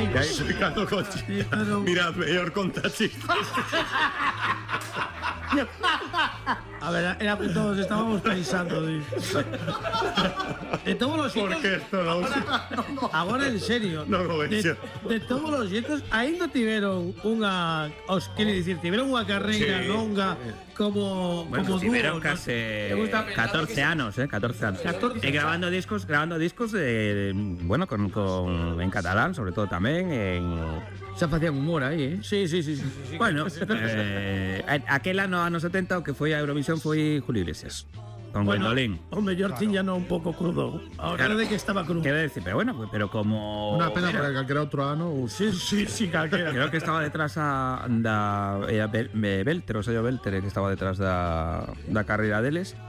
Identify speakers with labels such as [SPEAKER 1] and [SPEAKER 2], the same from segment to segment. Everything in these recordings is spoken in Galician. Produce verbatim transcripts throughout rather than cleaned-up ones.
[SPEAKER 1] E aí explicando con chistes. Mirad, mellor conta chistes.
[SPEAKER 2] A ver, era que todos estábamos pensando de... de todos los
[SPEAKER 1] Por
[SPEAKER 2] xeitos
[SPEAKER 1] que esto non?
[SPEAKER 2] agora en serio
[SPEAKER 1] Non o
[SPEAKER 2] de,
[SPEAKER 1] vexo.
[SPEAKER 2] de todos os xeitos ainda tiveron unha os quere dicir, tiveron unha carreira
[SPEAKER 1] Sí.
[SPEAKER 2] longa como
[SPEAKER 3] Bueno,
[SPEAKER 2] como
[SPEAKER 3] tiveron
[SPEAKER 2] dúo,
[SPEAKER 3] casi
[SPEAKER 2] ¿no? Me gusta pensar
[SPEAKER 3] catorce
[SPEAKER 2] que-
[SPEAKER 3] anos, eh, catorce anos.
[SPEAKER 2] catorce
[SPEAKER 3] E grabando discos, grabando discos de, de bueno, con, con en catalán, sobre todo tamén en
[SPEAKER 4] Xa facían humor aí, eh?
[SPEAKER 2] Sí, sí, sí, sí, sí, sí.
[SPEAKER 3] bueno, eh, aquel ano ano setenta o que foi a Eurovisión foi Julio Iglesias. Con
[SPEAKER 2] Bueno,
[SPEAKER 3] Gwendolyn.
[SPEAKER 2] o mellor tiñano un pouco crudo. Ahora
[SPEAKER 3] Claro.
[SPEAKER 2] de que estaba crudo.
[SPEAKER 3] Quero decir, pero bueno, pero como
[SPEAKER 5] Unha pena
[SPEAKER 3] era-
[SPEAKER 5] porque calquera outro ano ou
[SPEAKER 2] Sí, sí, sí, calquera.
[SPEAKER 3] creo que estaba detrás a, da era Bel, me- Belter, o sello Belter que estaba detrás da, da carreira deles.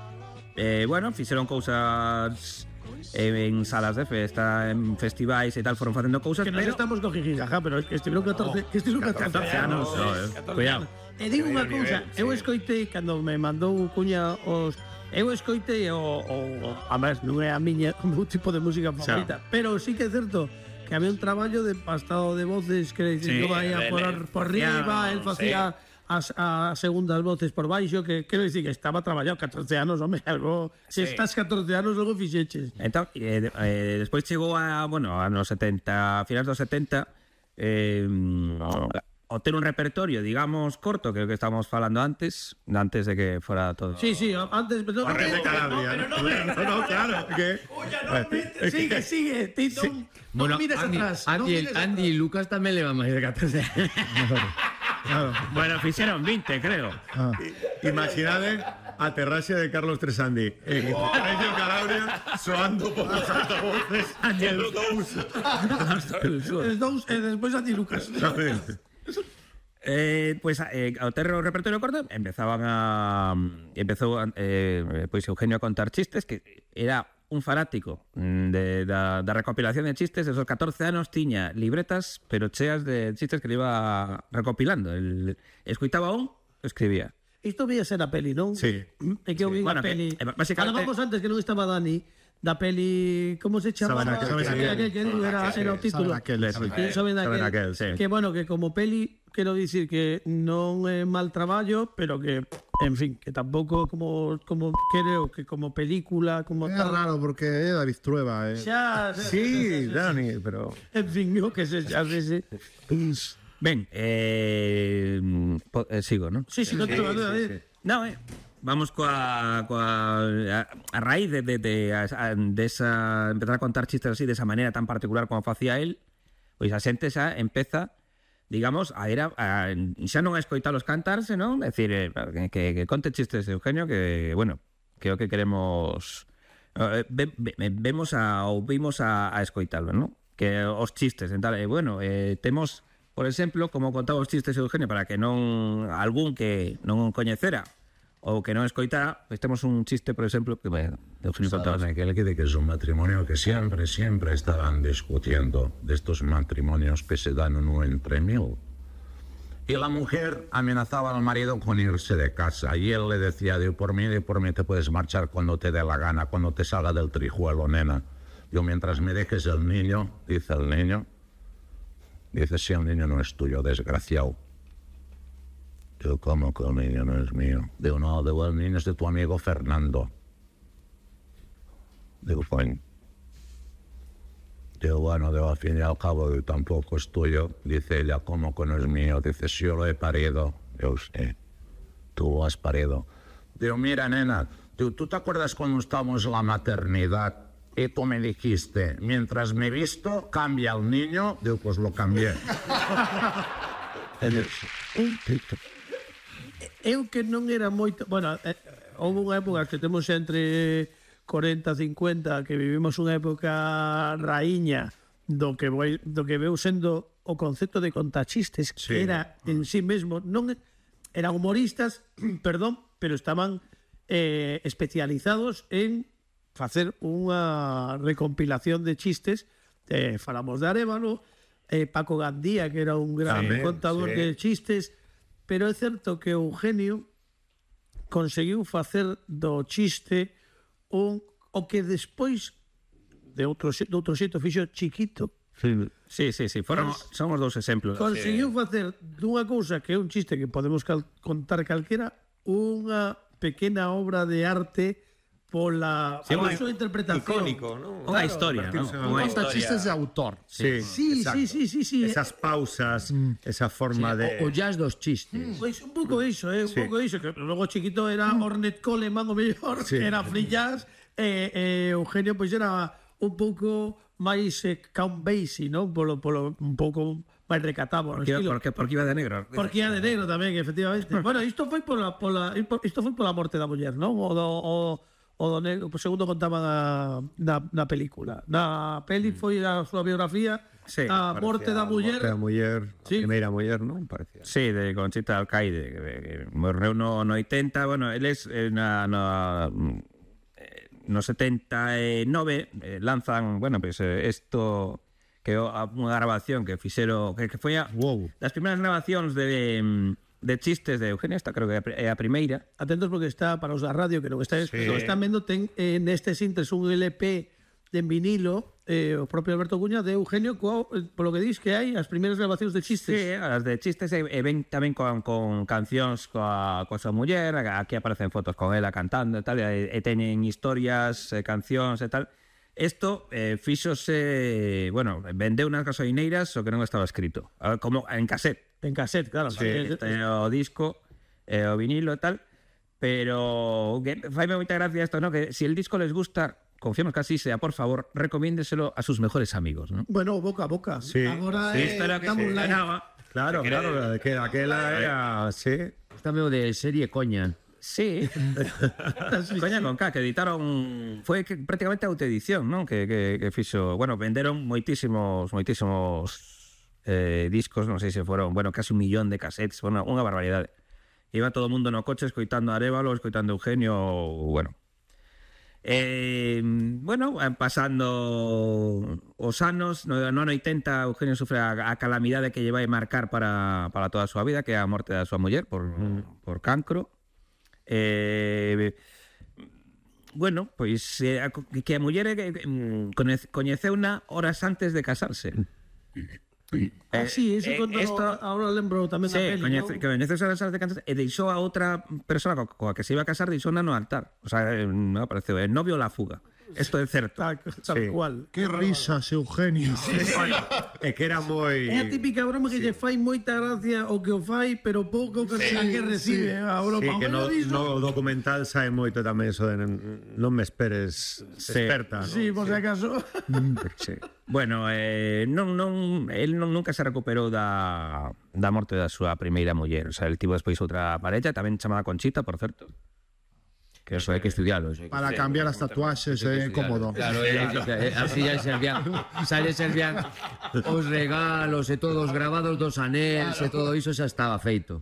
[SPEAKER 3] Eh, bueno, fixeron cousas en salas de festa, en festivais e tal, foron facendo cousas,
[SPEAKER 2] Que nos
[SPEAKER 3] pero
[SPEAKER 2] estamos con jijijaja, pero es que estiveron catorce, que estiveron catorce,
[SPEAKER 3] catorce anos, no, eh. Cuidado.
[SPEAKER 2] E digo unha cousa, eu escoitei cando me mandou Cuña os eu escoitei o, o, o a máis non é a miña o meu tipo de música favorita, pero sí que é certo que había un traballo de pastado de voces que
[SPEAKER 3] Sí,
[SPEAKER 2] sí, yo ia
[SPEAKER 3] él
[SPEAKER 2] por, por
[SPEAKER 3] facía-
[SPEAKER 2] riba, él facía as, as segundas voces por baixo, que quero dicir que estaba traballado catorce anos, home, algo, se
[SPEAKER 3] Sí.
[SPEAKER 2] estás catorce anos, logo fixeches.
[SPEAKER 3] Entón, eh, eh, despois chegou a, bueno, a nos setenta, finais dos setenta, eh, o ter un repertorio, digamos, corto, que é o que estábamos falando antes, antes de que fora todo.
[SPEAKER 2] Sí, sí, antes, pero no,
[SPEAKER 1] Corres de Calabria,
[SPEAKER 2] pero
[SPEAKER 1] ¿no?
[SPEAKER 2] no,
[SPEAKER 1] No, no, claro, que...
[SPEAKER 2] sigue, sigue, Tito, no
[SPEAKER 4] Bueno,
[SPEAKER 2] mires
[SPEAKER 4] Andy,
[SPEAKER 2] atrás. no
[SPEAKER 4] Andy,
[SPEAKER 2] mires
[SPEAKER 4] Andy y Lucas tamén levan máis de catorce anos.
[SPEAKER 5] Claro.
[SPEAKER 3] Bueno, fixeron veinte, creo.
[SPEAKER 5] Ah.
[SPEAKER 1] Imaginade a terraxe de Carlos Tresandi en Radio Calabria soando por os altavoces e os dous.
[SPEAKER 2] Os dous e despois a ti, Lucas.
[SPEAKER 3] Eh, pues eh, ao ter o repertorio corto empezaban a empezou eh, pois Eugenio a contar chistes, que era un fanático mm, de, da, da recopilación de chistes. Esos catorce anos tiña libretas pero cheas de chistes que le iba recopilando. El, escuitaba un, escribía.
[SPEAKER 2] Isto vía ser a peli, non?
[SPEAKER 1] Sí.
[SPEAKER 2] É que eu vi
[SPEAKER 3] Bueno,
[SPEAKER 2] a peli.
[SPEAKER 3] que, eh, básicamente-
[SPEAKER 2] Falábamos antes que non estaba Dani da peli, como se chama?
[SPEAKER 1] Saben aquel,
[SPEAKER 2] Saben
[SPEAKER 1] sí.
[SPEAKER 2] aquel, que era, era o título.
[SPEAKER 5] Saben aquel,
[SPEAKER 2] Sí,
[SPEAKER 5] saben
[SPEAKER 2] sí, Saben aquel.
[SPEAKER 1] Saben aquel, sí.
[SPEAKER 2] Que bueno, que como peli quero dicir que non é mal traballo, pero que en fin, que tampouco como como creo que como película, como
[SPEAKER 5] É
[SPEAKER 2] tal.
[SPEAKER 5] raro porque é David Trueba, eh.
[SPEAKER 2] Xa,
[SPEAKER 1] Sí, Dani, pero...
[SPEAKER 2] en fin, yo que se xa ese.
[SPEAKER 3] Ben, eh, po, eh, sigo, non?
[SPEAKER 2] Sí, sí, no te lo voy a decir.
[SPEAKER 3] No, eh, vamos coa, coa a, a raíz de, de, de, a, de esa, empezar a contar chistes así de esa manera tan particular como facía él, pois a xente xa empeza, digamos, a ir a, a xa non a escoitalos cantarse, non? É dicir, eh, que, que conte chistes de Eugenio, que, bueno, que é o que queremos eh, ve, ve, vemos a, ou vimos a, a escoitalo, non? Que os chistes, en tal, eh, bueno, eh, temos, por exemplo, como contaba os chistes de Eugenio, para que non algún que non coñecera ou que non escoitara, pois temos un chiste, por exemplo, que bueno, de Eugenio contaba.
[SPEAKER 6] Saben aquel que, que es un matrimonio que siempre, siempre estaban discutiendo de estos matrimonios que se dan uno entre mil. Y la mujer amenazaba al marido con irse de casa y él le decía, de por mí, de por mí te puedes marchar cuando te dé la gana, cuando te salga del trijuelo, nena. Yo mientras me dejes el niño, dice el niño, dice, si el niño no es tuyo, desgraciado. Digo, ¿cómo que el niño no es mío? Digo, no, digo, el niño es de tu amigo Fernando. Digo, coño. Digo, bueno, digo, al fin y al cabo digo, tampoco es tuyo. Dice ella, ¿cómo que no es mío? Dice, si yo lo he parido. Digo, sí, tú lo has parido. Digo, mira, nena, digo, ¿tú te acuerdas cuando estábamos en la maternidad y tú me dijiste, mientras me visto, cambia el niño? Digo, pues lo cambié.
[SPEAKER 2] Eu que non era moito, bueno, eh, houve unha época que temos entre cuarenta, cincuenta, que vivimos unha época raíña do que voi, do que veu sendo o concepto de contachistes, que
[SPEAKER 1] Sí.
[SPEAKER 2] era en sí mesmo, non eran humoristas, perdón, pero estaban eh, especializados en facer unha recompilación de chistes. Eh, falamos de Arévalo, eh, Paco Gandía, que era un gran
[SPEAKER 1] Tamén,
[SPEAKER 2] contador
[SPEAKER 1] sí.
[SPEAKER 2] de chistes, pero é certo que Eugenio conseguiu facer do chiste un, o que despois de outro, xe- de outro xeito fixo Chiquito,
[SPEAKER 3] Sí, sí, sí, foron, somos dous exemplos.
[SPEAKER 2] Conseguiu facer dunha cousa que é un chiste que podemos cal contar calquera, unha pequena obra de arte pola,
[SPEAKER 3] Sí,
[SPEAKER 2] pola
[SPEAKER 3] un-
[SPEAKER 2] súa interpretación.
[SPEAKER 1] Icónico, ¿no?
[SPEAKER 3] Unha historia, non? Unha
[SPEAKER 5] Conta
[SPEAKER 3] historia.
[SPEAKER 5] chistes de autor.
[SPEAKER 1] Sí,
[SPEAKER 2] Sí,
[SPEAKER 1] exacto.
[SPEAKER 2] sí, sí, sí, sí.
[SPEAKER 1] Esas pausas, esa forma de...
[SPEAKER 4] O, o jazz dos chistes.
[SPEAKER 2] Pois un pouco iso, eh, un
[SPEAKER 1] Sí.
[SPEAKER 2] pouco iso, que logo chiquito era Ornette Coleman o mellor,
[SPEAKER 1] Sí.
[SPEAKER 2] era free jazz, e eh, eh, Eugenio pois era un pouco máis eh, Count Basie, non? Polo, polo, un pouco máis recatado, no
[SPEAKER 3] Porque,
[SPEAKER 2] estilo.
[SPEAKER 3] porque, porque iba de negro.
[SPEAKER 2] Porque era de negro tamén, efectivamente. Bueno, isto foi pola, pola, isto foi pola morte da muller, non? O do, o, o do negro, pues segundo contaban na, na, na película. Na peli foi a súa biografía,
[SPEAKER 3] Sí,
[SPEAKER 2] a morte da muller.
[SPEAKER 1] A muller,
[SPEAKER 2] Sí.
[SPEAKER 1] a primeira muller, non? Parecía.
[SPEAKER 3] Sí, de Conchita Alcaide, que, que morreu no, no oitenta, bueno, eles eh, na, na, eh, no setenta e nove eh, lanzan, bueno, pues eh, esto que é unha grabación que fixeron, que, que foi a,
[SPEAKER 5] Wow.
[SPEAKER 3] das primeiras grabacións de, de chistes de Eugenio, esta creo que é a primeira.
[SPEAKER 2] Atentos porque está para os da radio que non está, sí. non están vendo ten eh, neste sintes un L P de vinilo, eh, o propio Alberto Cuña de Eugenio co, eh, polo que dis que hai as primeiras grabacións de chistes.
[SPEAKER 3] Sí, as de chistes e, e ven tamén con, con cancións coa, coa súa muller, aquí aparecen fotos con ela cantando e tal, e, e teñen historias, e cancións e tal. Isto eh, fíxose, bueno, vendeu nas gasolineiras o que non estaba escrito, ah, como en cassette.
[SPEAKER 2] En cassette, claro.
[SPEAKER 3] Sí,
[SPEAKER 2] Eh,
[SPEAKER 3] este, o disco, eh, o vinilo e tal, pero que faime moita gracia isto, ¿no? Que si el disco les gusta, confiamos que así sea, por favor, recomiéndeselo a sus mejores amigos, ¿no?
[SPEAKER 2] Bueno, boca a boca.
[SPEAKER 1] Sí.
[SPEAKER 2] Agora
[SPEAKER 3] Sí,
[SPEAKER 2] eh,
[SPEAKER 3] isto era que
[SPEAKER 2] damos
[SPEAKER 3] se
[SPEAKER 2] like.
[SPEAKER 3] ganaba.
[SPEAKER 1] Claro,
[SPEAKER 3] Se
[SPEAKER 1] claro,
[SPEAKER 3] cree-
[SPEAKER 1] que aquela era... Sí.
[SPEAKER 4] Está medio de serie coña.
[SPEAKER 3] Sí. Coña con K, que editaron foi que prácticamente autoedición, non? Que, que, que fixo, bueno, venderon moitísimos moitísimos eh, discos, non sei se foron, bueno, casi un millón de cassettes, bueno, unha barbaridade. Iba todo o mundo no coche escoitando a Arévalo, escoitando a Eugenio, bueno. Eh, bueno, van pasando os anos, no, no ano oitenta Eugenio sufre a, a calamidade que lle vai marcar para, para toda a súa vida, que é a morte da súa muller por, mm. por cancro. Eh, bueno, pois eh, que a muller eh, coñece, coñeceuna horas antes de casarse.
[SPEAKER 2] Ah, sí, eso
[SPEAKER 3] eh,
[SPEAKER 2] contou,
[SPEAKER 3] esto-
[SPEAKER 2] ahora lembro tamén da
[SPEAKER 3] Sí,
[SPEAKER 2] peli,
[SPEAKER 3] coñece,
[SPEAKER 2] ¿no?
[SPEAKER 3] que coñece horas antes de casarse e deixou a outra persona co- coa que se iba a casar, deixou no altar. O sea, eh, non apareceu, el novio la fuga. Isto é certo.
[SPEAKER 2] Tal, tal
[SPEAKER 1] Sí.
[SPEAKER 2] cual.
[SPEAKER 5] Qué risas, Eugenio.
[SPEAKER 1] É que era moi...
[SPEAKER 2] É a típica broma que lle fai moita gracia o que o fai, pero pouco que, sí, que recibe a broma.
[SPEAKER 1] Sí, que no,
[SPEAKER 2] Hombre, iso-
[SPEAKER 1] no documental sae moito tamén eso de non me esperes experta, ¿no?
[SPEAKER 2] Sí, por si acaso.
[SPEAKER 3] Sí. Bueno, eh, non, non, el non, nunca se recuperou da, da morte da súa primeira muller. O sea, el tivo despois outra parella, tamén chamada Conchita, por certo.
[SPEAKER 4] Que eso hai que estudiarlo. Eso hai que
[SPEAKER 5] Para cambiar las tatuaxes é cómodo.
[SPEAKER 4] Claro, eh, eh, así ya servían, xa lle servían os regalos e todos os grabados dos anéis e todo iso xa estaba feito.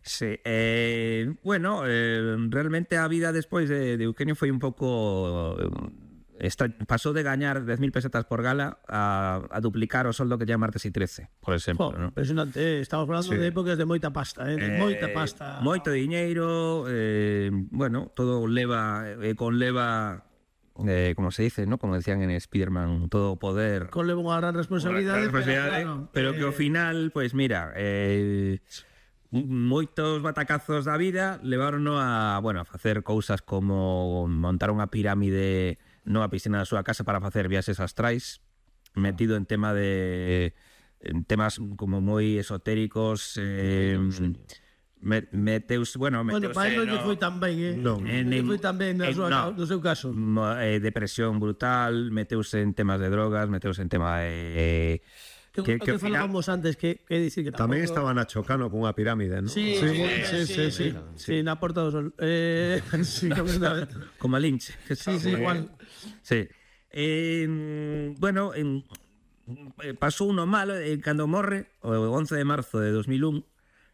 [SPEAKER 3] Sí, eh, bueno, eh, realmente a vida despois de, de Eugenio foi un pouco... eh, Esta, pasou de gañar dez mil pesetas por gala a, a duplicar o soldo que lle martes y trece, por exemplo,
[SPEAKER 2] Jo,
[SPEAKER 3] ¿no?
[SPEAKER 2] impresionante, eh. Estamos falando
[SPEAKER 1] Sí.
[SPEAKER 2] de épocas de moita pasta, eh, de moita pasta.
[SPEAKER 3] Moito diñeiro, eh, bueno, todo leva, eh, con leva, eh, como se dice, ¿no? Como decían en Spiderman, todo poder.
[SPEAKER 2] Con levo unha gran responsabilidade,
[SPEAKER 3] responsabilidade,
[SPEAKER 2] pero, claro,
[SPEAKER 3] pero que ao
[SPEAKER 2] eh,
[SPEAKER 3] final, pois mira, eh, moitos batacazos da vida levarono a, bueno, a facer cousas como montar unha pirámide no a piscina da súa casa para facer viaxes astrais, metido en tema de en temas como moi esotéricos, eh, me, meteus, bueno,
[SPEAKER 2] Bueno,
[SPEAKER 3] meteuse
[SPEAKER 2] para non lle
[SPEAKER 3] no-
[SPEAKER 2] foi tan ben, eh?
[SPEAKER 1] Non.
[SPEAKER 2] Non lle foi tan ben na
[SPEAKER 3] en-
[SPEAKER 2] súa,
[SPEAKER 3] no.
[SPEAKER 2] no seu caso.
[SPEAKER 3] mo- eh, depresión brutal, meteuse en temas de drogas, meteuse en tema de...
[SPEAKER 2] Que,
[SPEAKER 3] que-
[SPEAKER 2] que,
[SPEAKER 3] que ao final-
[SPEAKER 2] falábamos antes, que, que dicir que
[SPEAKER 1] Tamén
[SPEAKER 2] tampouco-
[SPEAKER 1] estaba Nacho Cano cunha pirámide, ¿no?
[SPEAKER 2] Sí, sí, sí, sí, sí, sí, na Porta do Sol. Eh, sí, completamente.
[SPEAKER 3] Como a Lynch. que
[SPEAKER 2] Sí, sí, igual.
[SPEAKER 3] Sí. Eh, bueno, en, eh, pasou uno malo eh, cando morre o once de marzo de dos mil un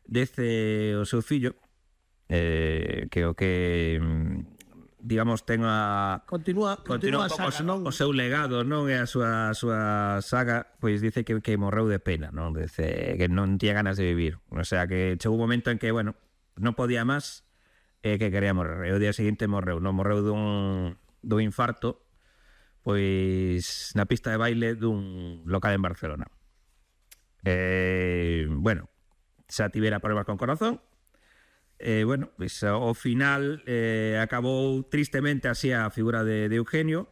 [SPEAKER 3] dece o seu fillo eh, que o que mm, digamos ten a
[SPEAKER 2] Continúa,
[SPEAKER 3] continúa
[SPEAKER 2] continúa,
[SPEAKER 3] un pouco
[SPEAKER 2] saga, non?
[SPEAKER 3] o seu legado, non? E a súa, a súa saga, pois dice que, que morreu de pena, non? Dice que non tiña ganas de vivir. O sea, que chegou un momento en que, bueno, non podía máis e que quería morrer. E o día seguinte morreu, non? Morreu dun, dun infarto pois na pista de baile dun local en Barcelona. Eh, bueno, xa tivera problemas con corazón. Eh, bueno, pois ao final eh, acabou tristemente así a figura de, de Eugenio.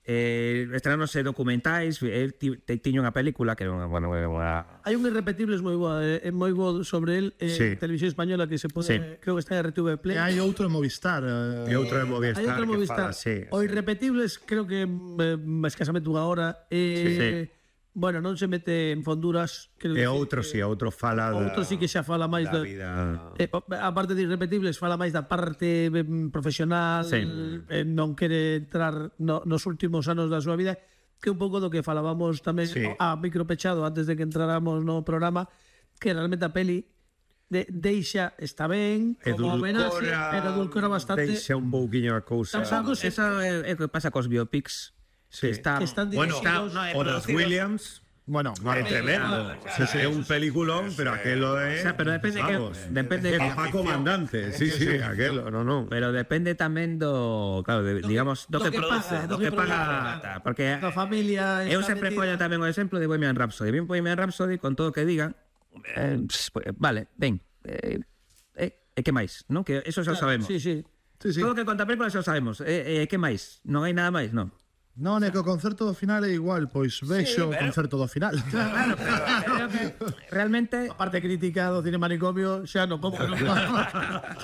[SPEAKER 3] Eh, estrenánose documentais, el ti, tiña unha película que era unha, bueno, unha...
[SPEAKER 2] Hai un Irrepetibles moi boa, eh, moi bo sobre el en
[SPEAKER 1] Sí.
[SPEAKER 2] televisión española que se pode,
[SPEAKER 3] Sí.
[SPEAKER 2] creo que está en R T V Play.
[SPEAKER 5] E hai outro en Movistar. eh,
[SPEAKER 1] E outro de Movistar.
[SPEAKER 2] Hai outro
[SPEAKER 1] que
[SPEAKER 2] Movistar.
[SPEAKER 1] fala, sí,
[SPEAKER 2] O
[SPEAKER 1] sí.
[SPEAKER 2] Irrepetibles creo que eh, escasamente unha hora. Eh, bueno, non se mete en fonduras. Creo
[SPEAKER 1] E
[SPEAKER 2] que-
[SPEAKER 1] outro, si, outro fala da,
[SPEAKER 2] Outro sí que xa fala máis
[SPEAKER 1] da
[SPEAKER 2] da,
[SPEAKER 1] vida.
[SPEAKER 2] eh, aparte de Irrepetibles, fala máis da parte eh, profesional,
[SPEAKER 3] Sí.
[SPEAKER 2] eh, non quere entrar no, nos últimos anos da súa vida, que un pouco do que falábamos tamén
[SPEAKER 1] Sí.
[SPEAKER 2] a micro pechado antes de que entráramos no programa, que realmente a peli de, deixa, está ben, como homenaxe, pero edulcora bastante.
[SPEAKER 1] Deixa un pouquiño a cousa.
[SPEAKER 2] Estamos algo se-
[SPEAKER 3] Eso é, é o que pasa cos biopics.
[SPEAKER 1] Sí.
[SPEAKER 3] Que está,
[SPEAKER 2] que están
[SPEAKER 1] Bueno,
[SPEAKER 2] dirixidos-
[SPEAKER 3] no, é
[SPEAKER 1] o das
[SPEAKER 3] producidos-
[SPEAKER 1] Williams,
[SPEAKER 5] Bueno,
[SPEAKER 1] é tremendo. Sí, sí, é un peliculón, pero aquelo é...
[SPEAKER 3] O sea, pero depende que-
[SPEAKER 1] vamos,
[SPEAKER 3] depende
[SPEAKER 1] é
[SPEAKER 3] que-
[SPEAKER 1] papá comandante. Sí, sí, aquelo, no, no.
[SPEAKER 3] Pero depende tamén do, claro, de, digamos, do,
[SPEAKER 2] do
[SPEAKER 3] que,
[SPEAKER 2] que
[SPEAKER 3] produce,
[SPEAKER 2] paga,
[SPEAKER 3] do
[SPEAKER 2] do
[SPEAKER 3] que
[SPEAKER 2] que
[SPEAKER 3] paga,
[SPEAKER 2] produce.
[SPEAKER 3] tal, porque
[SPEAKER 2] Da familia
[SPEAKER 3] eu
[SPEAKER 2] está
[SPEAKER 3] sempre
[SPEAKER 2] metida.
[SPEAKER 3] poño tamén o exemplo de Bohemian Rhapsody. Ben Bohemian Rhapsody, con todo o que digan, eh, pues, vale, ben, eh, eh, e que máis, non? Que eso xa o sabemos.
[SPEAKER 2] Sí, sí.
[SPEAKER 5] sí, sí.
[SPEAKER 3] Todo o que conta a película xa o sabemos. E, e que máis? Non hai nada máis, non?
[SPEAKER 5] Non, é que o concerto do final é igual, pois vexo o concerto do final.
[SPEAKER 3] Claro, pero creo que realmente...
[SPEAKER 2] A parte crítica do cine manicomio, xa non como non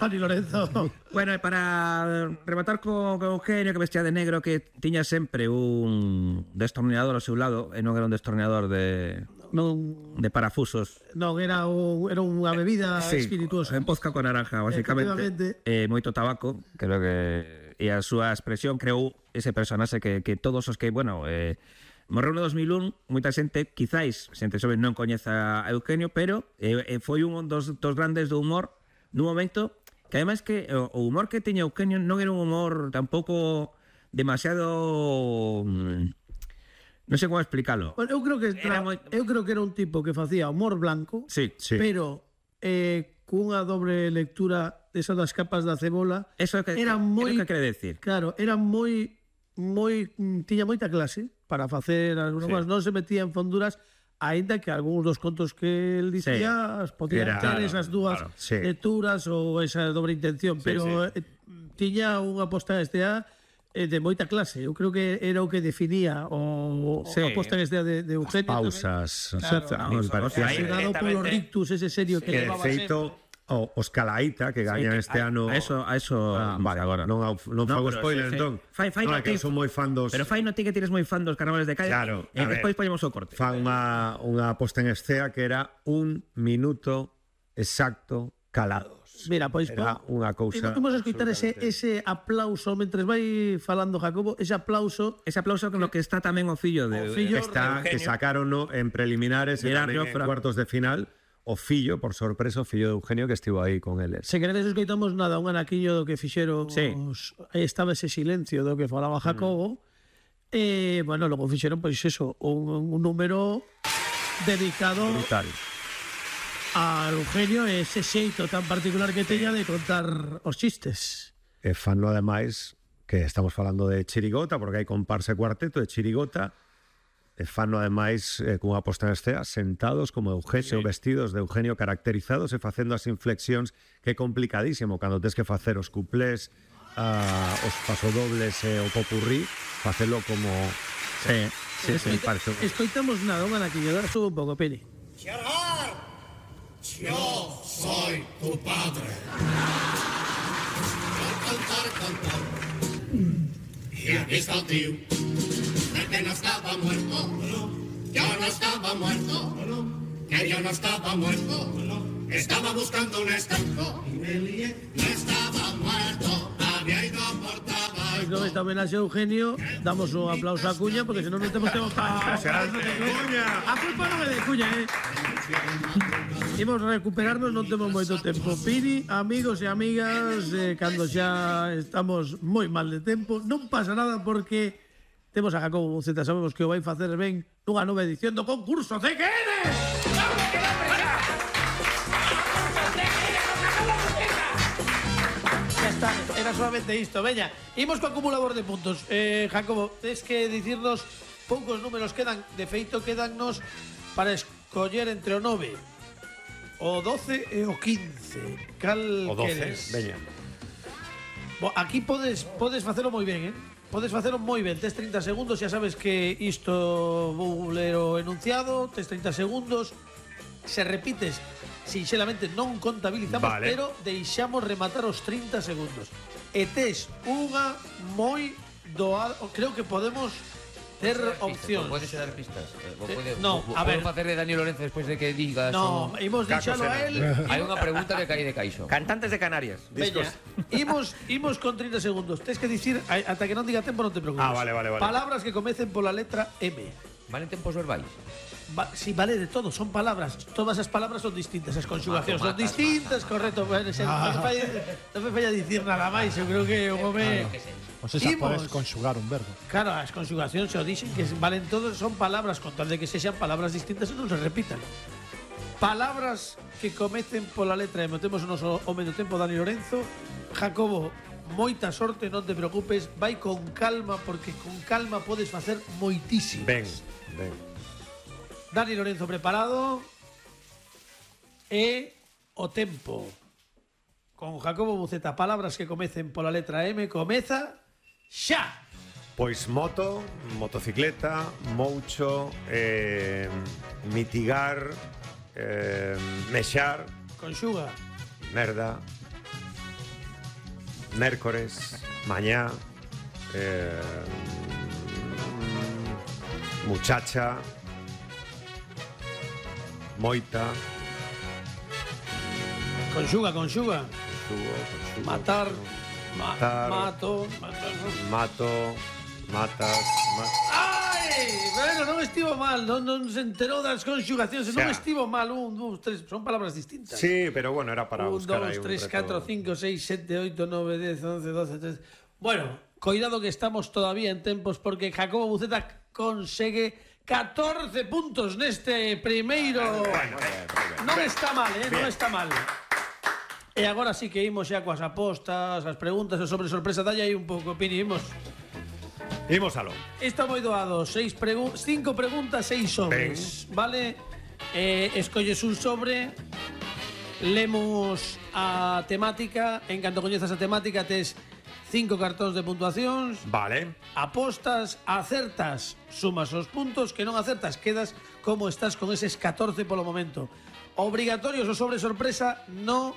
[SPEAKER 2] Fanny Lorenzo.
[SPEAKER 3] Bueno, e para rematar co, co Eugenio, que vestía de negro, que tiña sempre un destornillador ao seu lado, e non era un destornillador de,
[SPEAKER 2] Non,
[SPEAKER 3] de parafusos.
[SPEAKER 2] non era, un, era unha bebida espirituosa.
[SPEAKER 3] En pozca con naranja, basicamente.
[SPEAKER 2] Efectivamente.
[SPEAKER 3] Eh, moito tabaco, creo que... E a súa expresión creou ese personaxe que, que todos os que, bueno... Eh, morreu no dos mil un, moita xente, quizáis, xente sobre non coñeza a Eugenio, pero eh, eh, foi un dos, dos grandes do humor nun momento que ademais que o, o humor que tiña Eugenio non era un humor tampouco demasiado... mm, non sei como explicalo.
[SPEAKER 2] Bueno, eu creo que
[SPEAKER 3] Era
[SPEAKER 2] tra...
[SPEAKER 3] moi-
[SPEAKER 2] eu creo que era un tipo que facía humor blanco,
[SPEAKER 3] Sí,
[SPEAKER 1] Sí.
[SPEAKER 2] pero eh, cunha dobre lectura desa das capas da cebola.
[SPEAKER 3] Eso é que,
[SPEAKER 2] Era moi-
[SPEAKER 3] é o que quere decir.
[SPEAKER 2] Claro, era moi moi mm, tiña moita clase para facer algunhas
[SPEAKER 3] Sí.
[SPEAKER 2] cousas, non se metía en fonduras, aínda que algúns dos contos que el dicía sí. podían
[SPEAKER 1] Era-
[SPEAKER 2] ter
[SPEAKER 1] claro,
[SPEAKER 2] esas dúas
[SPEAKER 1] claro, sí.
[SPEAKER 2] lecturas ou esa dobre intención, pero eh, tiña unha posta en estea eh, de moita clase. Eu creo que era o que definía o
[SPEAKER 3] Sí.
[SPEAKER 2] a posta en estea de, de Eugenio.
[SPEAKER 1] Pausas.
[SPEAKER 2] Claro.
[SPEAKER 1] a mí me parecía
[SPEAKER 3] Ahí-
[SPEAKER 1] así.
[SPEAKER 2] Dado polo rictus ese serio que
[SPEAKER 1] Que de
[SPEAKER 2] levaba
[SPEAKER 1] feito, o, os Calaíta, que gañan este
[SPEAKER 3] a,
[SPEAKER 1] ano...
[SPEAKER 3] A eso, a eso
[SPEAKER 1] Ah, vale,
[SPEAKER 3] agora.
[SPEAKER 1] non, au- non fago
[SPEAKER 3] pero
[SPEAKER 1] spoiler,
[SPEAKER 3] sí, sí.
[SPEAKER 1] entón.
[SPEAKER 3] Fai- fai
[SPEAKER 1] non,
[SPEAKER 3] no
[SPEAKER 1] é que
[SPEAKER 3] ti-
[SPEAKER 1] son moi fan dos...
[SPEAKER 3] Pero fai no ti que tires moi fan dos carnavales de calle.
[SPEAKER 1] Claro,
[SPEAKER 3] E
[SPEAKER 1] a ver.
[SPEAKER 3] despois poñemos o corte.
[SPEAKER 1] fan unha, unha posta en escena que era un minuto exacto calados.
[SPEAKER 2] Mira, pois
[SPEAKER 1] Era
[SPEAKER 2] po-
[SPEAKER 1] unha cousa...
[SPEAKER 2] Imos a escoitar ese, ese aplauso mentres vai falando Jacobo, ese aplauso
[SPEAKER 3] Ese aplauso con lo que está tamén o fillo de
[SPEAKER 2] O fillo
[SPEAKER 1] que está, que sacaron en preliminares e
[SPEAKER 3] Gerard
[SPEAKER 1] tamén en
[SPEAKER 3] Jofre.
[SPEAKER 1] cuartos de final o fillo, por sorpresa, o fillo de Eugenio que estivo aí con eles.
[SPEAKER 2] Se queredes escoitamos nada, un anaquiño do que fixeron
[SPEAKER 3] Sí.
[SPEAKER 2] os, aí estaba ese silencio do que falaba Jacobo. E, bueno, logo fixeron, pois eso, un, un número dedicado
[SPEAKER 1] Brutal.
[SPEAKER 2] a Eugenio e ese xeito tan particular que teña de contar os chistes.
[SPEAKER 1] E fanlo ademais que estamos falando de chirigota, porque hai comparsa e cuarteto de chirigota, e fanlo ademais eh, cunha posta en escena sentados como Eugenio, sí. vestidos de Eugenio, caracterizados e facendo as inflexións, que é complicadísimo cando tes que facer os cuplés, ah, os pasodobles e o popurrí, facelo como...
[SPEAKER 3] Sí, sí, sí.
[SPEAKER 1] me parece...
[SPEAKER 2] Escoitamos nada, un anaquiño, dá sube un pouco, Pini.
[SPEAKER 7] Gerard, yo soy tu padre. Cantar, cantar. Y aquí está el tío, el que no estaba muerto. Yo no estaba muerto, que yo no estaba muerto. Estaba buscando un estanco y me lié. No estaba muerto, había ido por
[SPEAKER 2] Pois
[SPEAKER 7] tabaco.
[SPEAKER 2] non esta homenaxe a Eugenio, damos un aplauso a Cuña, porque senón non temos tempo para... A culpa non é de Cuña, eh? Imos recuperarnos, non temos moito tempo. Pini, amigos e amigas, eh, cando xa estamos moi mal de tempo, non pasa nada porque temos a Jacobo Buceta, sabemos que o vai facer ben nunha nova edición do concurso C Q N. está, era solamente isto. Veña, imos co acumulador de puntos. Eh, Jacobo, tens que dicirnos poucos números quedan. De feito, quedannos para escoller entre o nove, o doce e o quince. Cal
[SPEAKER 1] O doce,
[SPEAKER 2] queres?
[SPEAKER 1] veña.
[SPEAKER 2] Bo, aquí podes podes facelo moi ben, eh? Podes facelo moi ben. Tes trinta segundos, xa sabes que isto vou ler o enunciado. Tes trinta segundos. Se repites, sinxelamente non contabilizamos,
[SPEAKER 1] Vale.
[SPEAKER 2] pero deixamos rematar os trinta segundos. E tes unha moi doada. Creo que podemos ter opcións.
[SPEAKER 4] Podes dar pistas.
[SPEAKER 2] Eh, no, a ver.
[SPEAKER 4] Podemos facer de Dani Lorenzo despois de que digas.
[SPEAKER 2] No,
[SPEAKER 4] o-
[SPEAKER 2] imos deixalo a él.
[SPEAKER 4] Hai unha pregunta que cae de caixo.
[SPEAKER 3] Cantantes de Canarias.
[SPEAKER 2] Veña, imos, imos con trinta segundos. Tes que dicir, a- ata que non diga tempo non te preocupes.
[SPEAKER 1] Ah, vale, vale, vale.
[SPEAKER 2] Palabras que comecen pola letra M.
[SPEAKER 4] Valen tempos verbais.
[SPEAKER 2] Va, sí, vale, de todo, son palabras. Todas as palabras son distintas, as conxugacións son
[SPEAKER 4] Mato, matas,
[SPEAKER 2] distintas, correcto. Bueno, se, non, me falla, non me falla dicir nada máis, eu creo que o home...
[SPEAKER 5] Pois esa
[SPEAKER 2] Imos.
[SPEAKER 5] podes conxugar un verbo.
[SPEAKER 2] Claro, as conxugacións se o dixen que valen todos, son palabras, con tal de que sexan palabras distintas e non se repitan. Palabras que comecen pola letra M. Temos o noso home do tempo, Dani Lorenzo. Jacobo, moita sorte, non te preocupes, vai con calma, porque con calma podes facer moitísimo.
[SPEAKER 1] Ben, ben.
[SPEAKER 2] Dani Lorenzo preparado. E o tempo. Con Jacobo Buceta, palabras que comecen pola letra M, comeza xa.
[SPEAKER 1] Pois moto, motocicleta, moucho, eh, mitigar, eh, mexar,
[SPEAKER 2] Conxuga.
[SPEAKER 1] merda, mércores, mañá, eh, muchacha, moita,
[SPEAKER 2] Conxuga, conxuga.
[SPEAKER 1] conxugo, conxugo,
[SPEAKER 2] Matar.
[SPEAKER 1] conxugo.
[SPEAKER 2] Ma-
[SPEAKER 1] Matar.
[SPEAKER 2] Mato. matar.
[SPEAKER 1] Mato, matas, ma-
[SPEAKER 2] Ai! Bueno, non estivo mal, non, non se enterou das conxugacións, non
[SPEAKER 1] Xa.
[SPEAKER 2] estivo mal, un, dous, tres, son palabras distintas.
[SPEAKER 1] Sí, pero bueno, era para
[SPEAKER 2] un,
[SPEAKER 1] buscar
[SPEAKER 2] dos,
[SPEAKER 1] aí un
[SPEAKER 2] tres,
[SPEAKER 1] reto.
[SPEAKER 2] catro, cinco, seis, sete, oito, nove, dez, once, doce, trece. Bueno, cuidado que estamos todavía en tempos porque Jacobo Buceta consegue catorce puntos neste primeiro. Non está mal, eh, non está mal. E agora sí que imos xa coas apostas, as preguntas, e sobre sorpresa, dalle aí un pouco, Pini, imos.
[SPEAKER 1] Imos aló.
[SPEAKER 2] Está moi doado, seis pregu cinco preguntas, seis sobres, vale? Eh, escolles un sobre, lemos a temática, en canto coñezas a temática tes cinco cartóns de puntuacións,
[SPEAKER 1] Vale.
[SPEAKER 2] apostas, acertas, sumas os puntos, que non acertas, quedas como estás con eses catorce polo momento. Obrigatorios o sobre sorpresa no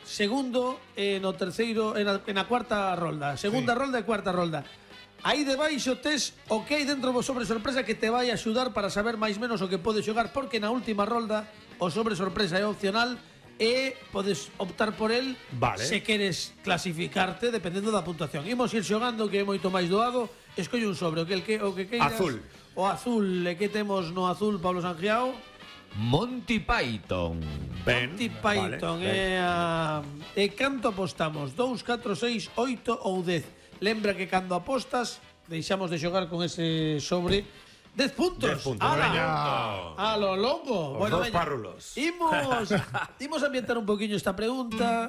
[SPEAKER 2] segundo e no terceiro, en a, en a cuarta rolda. Segunda rolda e cuarta rolda. Aí debaixo tes o que hai dentro do sobre sorpresa que te vai axudar para saber máis menos o que podes xogar, porque na última rolda o sobre sorpresa é opcional e podes optar por el
[SPEAKER 1] Vale.
[SPEAKER 2] se queres clasificarte dependendo da puntuación. Imos ir xogando, que é moito máis doado. Escolle un sobre, o que, el que, o que queiras.
[SPEAKER 1] Azul.
[SPEAKER 2] O azul, e que temos no azul, Pablo Sangiao?
[SPEAKER 4] Monty Python.
[SPEAKER 1] Ben.
[SPEAKER 2] Monty Python,
[SPEAKER 1] vale,
[SPEAKER 2] e, a, e canto apostamos? dous, catro, seis, oito ou dez? Lembra que cando apostas deixamos de xogar con ese sobre dez puntos.
[SPEAKER 1] dez puntos,
[SPEAKER 2] Ala.
[SPEAKER 1] veña.
[SPEAKER 2] A lo loco.
[SPEAKER 1] Os dos
[SPEAKER 2] veña.
[SPEAKER 1] párrulos.
[SPEAKER 2] Imos, imos ambientar un poquinho esta pregunta.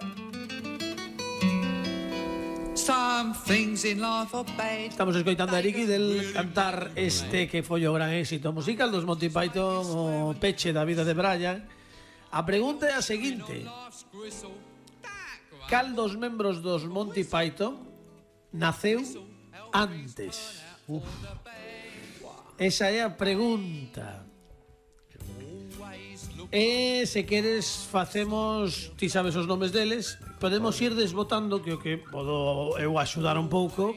[SPEAKER 8] Some things in life are bad.
[SPEAKER 2] Estamos escoitando a Eric del cantar este que foi o gran éxito musical dos Monty Python, o peche da vida de Brian. A pregunta é a seguinte: cal dos membros dos Monty Python naceu antes? Uf. Esa é a pregunta. E se queres facemos, ti sabes os nomes deles, podemos ir desbotando, que o que podo eu axudar un pouco.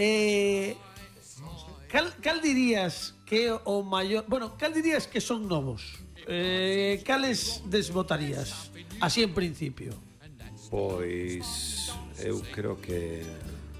[SPEAKER 2] Eh, cal, cal dirías que é o maior, bueno, cal dirías que son novos? Eh, cales desbotarías? Así en principio.
[SPEAKER 1] Pois eu creo que